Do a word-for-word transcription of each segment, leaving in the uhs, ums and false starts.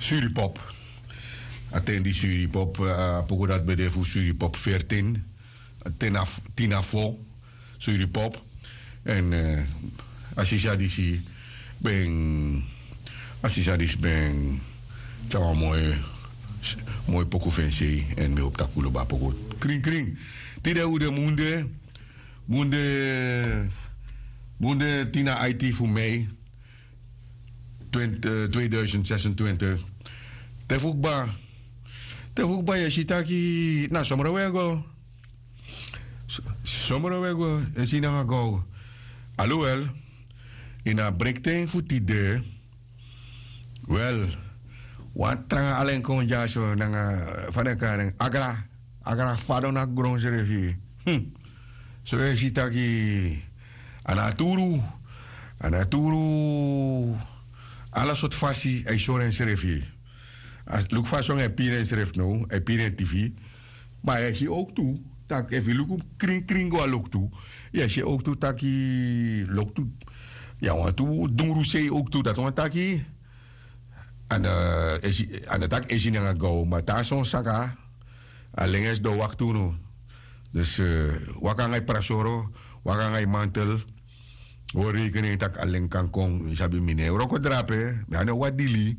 Suripop. A ten di Suripop, a poku dati ben de fu Suripop veertien. Ten na f-, tin na fo, Suripop. Èn, eh, a sisa disi ben, a sisa disi ben tyari wan moi, moi poku fu en sei, èn mi hopi tak' un lobi a poku krin krin. Tide un de munde, munde, munde tin na aiti fu mei, twintig, eh, tweeduizend zesentwintig. Te fu kba, te fu kba yu e si taki na somro un e go. S-, somro un e go, e si nanga gow. Aluwel, ini a brekten fu tide, wel, wan tranga alen kon dyaso nanga, fa den e kari en, agra, agra fadon na gron srefi. Hm. So yu e si taki a naturu, a naturu, ala sortu fasi a e sori ensrefi. A luku fa son a e piri ensrefi now, a e piri en tifi. Ma yu e si owktu tak' efu yu luku krin krin go a loktu, yu e si owktu taki loktu, yu a wantu dungru sei owktu, dati wani taki a no, eh, esi, a no taki esi nanga gaw, ma te a son saka, a lenges don wakti unu. Dus, eh, waka nanga yu prasoro, waka nanga yu mantel, hori rekening tak' a len kan kon, yu sabi mi no e wroko drape, mi a no wan dili.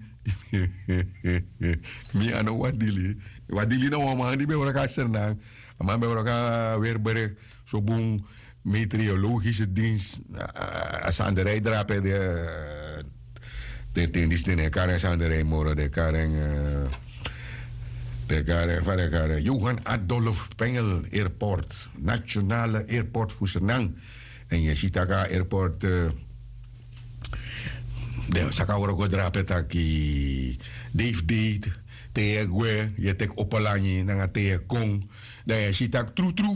Mi a no wan dili. Wan dili na wan man di ben wroko a Sranan, a man ben wroko a Weerbrug, so bun, meteorologische dienst, a, a, a sanderij drape de, eh, de ten disi den e kari en sanderij moro, den e kari en, eh, den e kari en, fa den e kari en, Johan Adolf Pengel Airport, nationale airport fu Sranan. Èn yu e si tak' a airport, eh, den saka wroko drape taki, dei fu dei, te yu e gwe, yu e teki opo langi, nanga te yu e kon, dan yu e si tak' trutru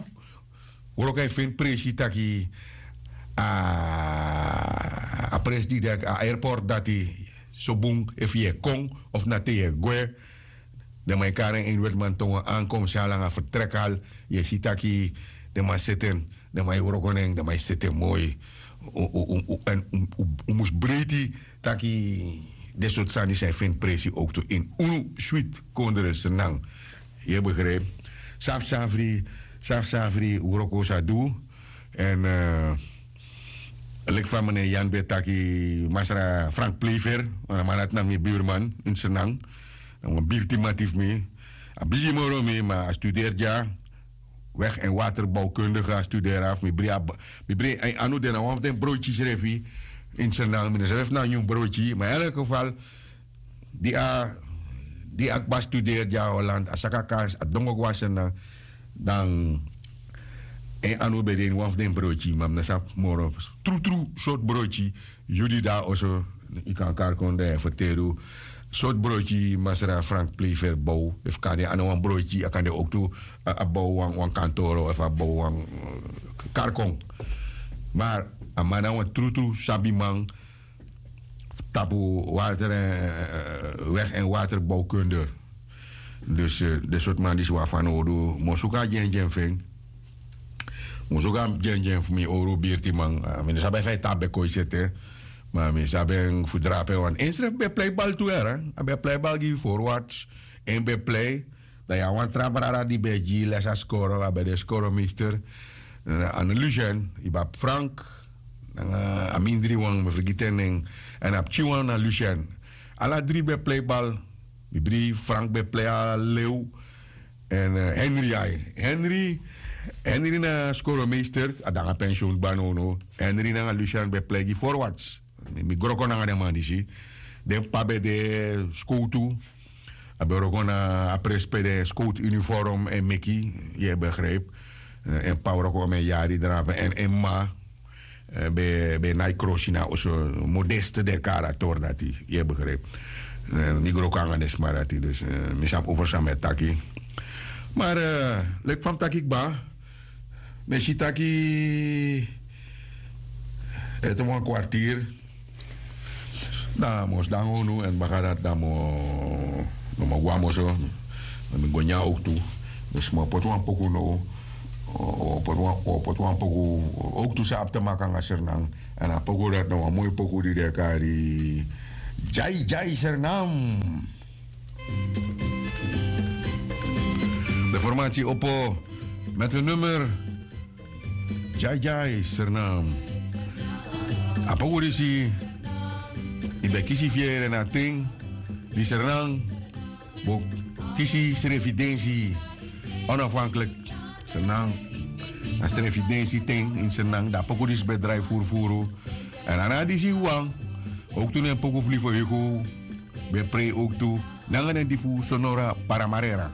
wroko e feni presi taki a, a presi di de, a airport dati, so bun efu yu e kon of na te yu e gwe. Den man e kari en ini wetiman tongo, ankomsthal nanga vertrekhal. Yu e si taki den man seti en, den man e wroko na en, den man e seti en moi. Un, un, un, un, èn un, un, un mus breiti taki den sortu sani san e feni presi owktu ini unu switi kondre Sranan. Yu e begrijp. Safsafri, safsafri wroko sa du. Èn, eh, leki fa meneer Jan ben taki, masra Frank Plever, wan man dati na mi buurman in Sranan. Na wan birtiman fu mi. A bigi moro mi, ma a studeri dya. Weg en waterbouwkundige a studeri afu. Mi bri a b-, mi bri en anu, den na wan fu den broodjes srefi in Sranan. Mi no sabi efu na nyun broodjes, ma in elk geval, di a, di a kba studeri dya Holland, a saka kars, a dongo go na Sranan, dan en anu ben de ini wan fu den broodjes, ma mi no sabi moro trutru sortu broodjes. Yu di de na oso, yu kan kari kon, dan yu e ferteri un sortu broodjes masra Frank Plever bow. Efu kande a no wan broodjes, a kande owktu a, a bow wan, wan kantoro, efu a bow wan, eh, kari kon. Ma a man na wan trutru sabiman tapu water, eh, weg en waterbouwkunde. Dus, eh, den sortu man disi wi abi fanowdu, mi o suku a dyendyen fu en. Mi o suku a dyendyen fu mi owru birtiman. Ah, mi no sabi efu a e tan a Bekoisete. Ma mi sabi en fu drape, want ensrefi ben e plei bal tu, hè. A ben e plei bal gi Forwards. En ben e plei. Dan yu abi wan tra brada di ben e gi les a skoro, a ben de skoromeester. Eh, a na Lucien, yu ben abi Frank, nanga a mindri wan, mi e fergiti en nen. Èn a pikinwan na Lucien. Ala dri ben e plei bal. Mi bri Frank ben e plei a lew. Èn, eh, Henry ai. Henry, Henry na skoromeester, a de nanga pensioen kba nownow. Henry nanga Lucien ben e plei gi Forwards. Mi, mi wroko nanga den man disi. Den p'pa ben de skowtu. A ben wroko na a presi pe den skowtu uniform e meki, yu e begrijp. Eh, en p'pa wroko omeni yari drape, èn en m'ma, eh, ben, ben nai krosi na oso, modeste, den e kari a tori dati, yu e begrijp. Eh, mi wroko nanga den sma dati, dus, eh, mi sabi over san mi e taki. Ma, eh, leki fa mi taki kba, mi e si taki ete wan kwartier. Dan mi o sidon nanga unu, èn baka dati dan mi o, mi o go na mi oso. Dan mi go nyan owktu. Dus mi o poti wan poku now. O, o poti wan, o poti wan poku, owktu san abi te meki nanga Sranan. Èn a poku dati na wan moi poku di den e kari Dyai Dyai Sranan. De formatie opo met hun nummer Jai Jai Sernam. Apo wurisi, i ben kisi fiere na ting di Sernam bo kisi srefi densi onafhankelijk. Sernam na srefi densi ting in Sernam, da poku disi ben drai furufuru. En ana disi wan, ook tu nen poku fli fu hiku ben prei ook tu nanga nen di fu Sonora Paramarera.